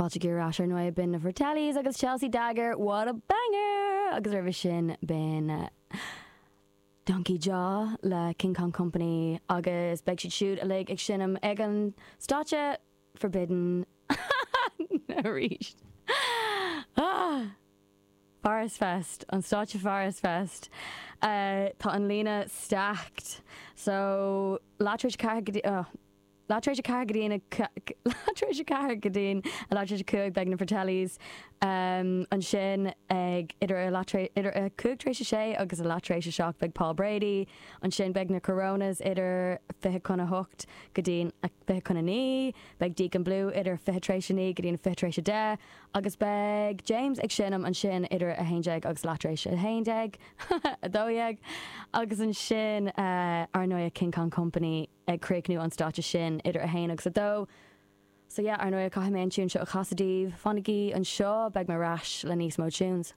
Fáilte ar ais ar ndóigh b'in na Fratellis agus Chelsea Dagger, what a banger! Agus roimhe sin b'in Donkey Jaw le King Kong Company agus beidh siad siúd uilig ag seinm ag an stáitse Forbidden arís. Ah! Forest Fest, an stáitse Forest Fest. Tá an líne stacked. So, leath tar éis a 4 go dtí, oh, leath tar éis a 4 go dtí an, leath tar éis a 4 go dtí an leath tar éis a 5 beidh na Fratellis ansin ag idir a leath tar, idir a 5 tar éis a 6 agus a leath tar éis a 7 beidh Paul Brady. Ansin beidh na Coronas idir 20 chun a 8 go dtí an 20 chun a 9. Beidh Deacon Blue idir 20 tar éis a 9 go dtí an 20 tar éis a 10. Agus beidh James ag seinm ansin idir 11 agus leath tar éis 11, 12, agus ansin ar ndóigh King Kong Company ag críochnú an stáitse sin idir 1 agus 2. So yeah, ar ndóigh caithfidh mé an tune seo a chasadh daoibh. Fanaigí anseo, beidh mé ar ais le níos mó tunes.